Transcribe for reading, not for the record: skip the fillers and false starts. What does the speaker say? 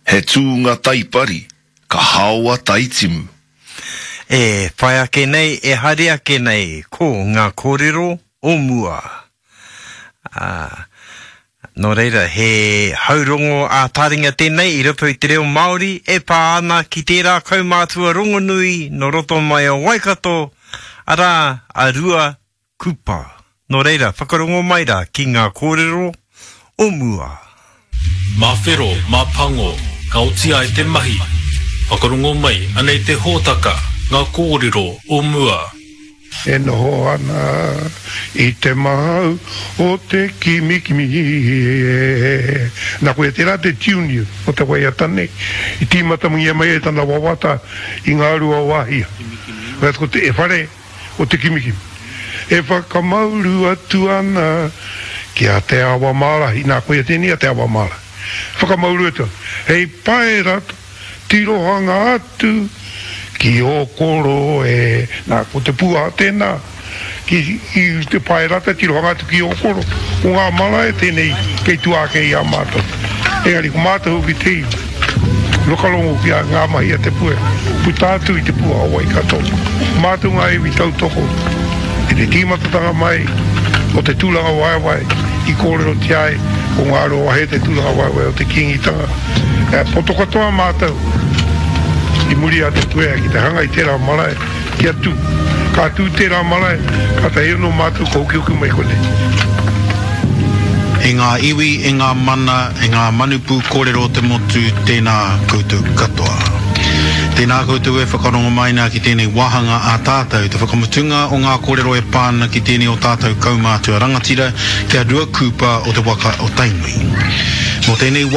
He tūnga taipari, ka haoa taitimu. E whai ake nei, e haere ake nei, ko ngā kōrero o mua. Ā, nō reira, he haurongo ā-taringa tēnei i roto i te reo Māori e pā ana ki tērā kaumātua rongonui nō roto mai o Waikato, arā, a Rua Kupa. Nō reira, whakarongo mai rā ki ngā kōrero o mua. Mā whero, mā pango, ka oti ai te mahi. Whakarongo mai, anei te hōtaka, ngā kōrero o mua. E noho ana i te mahau o te kimikimi e. Na koia tērā te tune o te waiata nei i tīmatangia mai ai tana wawata i Ngāruawāhia. Ko te whare o te kimikimi. E whakamauru atu ana ki a Te Awamārahi, nā, koia tēnei a Te Awamārahi. Whakamauru atu ana, hei paera tirohanga atu ki ō koro e, nā, ko te pūaha tēnā, ki, i te paerata tirohanga atu ki ō koro, ko ngā marae tēnei kei tua ake i a mātou. Engari ko mātou hoki te iwi. Whakarongo ki a ngā mahi a Te Puea, puta atu i te pua o Waikato. Mātou ngā iwi tautoko i te tīmatatanga mai o te tūrangawaewae i kōrerotia ai ko Ngāruawahe te tūrangawaewae o te Kīngitanga. E poto katoa mātou i muri a Te Puea ki te hanga i tērā marae kia tū. Ka tū tērā marae, kātahi anō mātou ka hokihoki mai konei. E ngā iwi, e ngā mana, e ngā manu pūkōrero o te motu, tēnā koutou katoa. Tēnā koutou e whakarongo mai nā ki tēnei wāhanga a tātou, te whakamutunga o ngā kōrero e pā ana ki tēnei o tātou kaumātua rangatira, ki a Ruakūpa o te waka o Tainui. Mō tēnei wāhanga.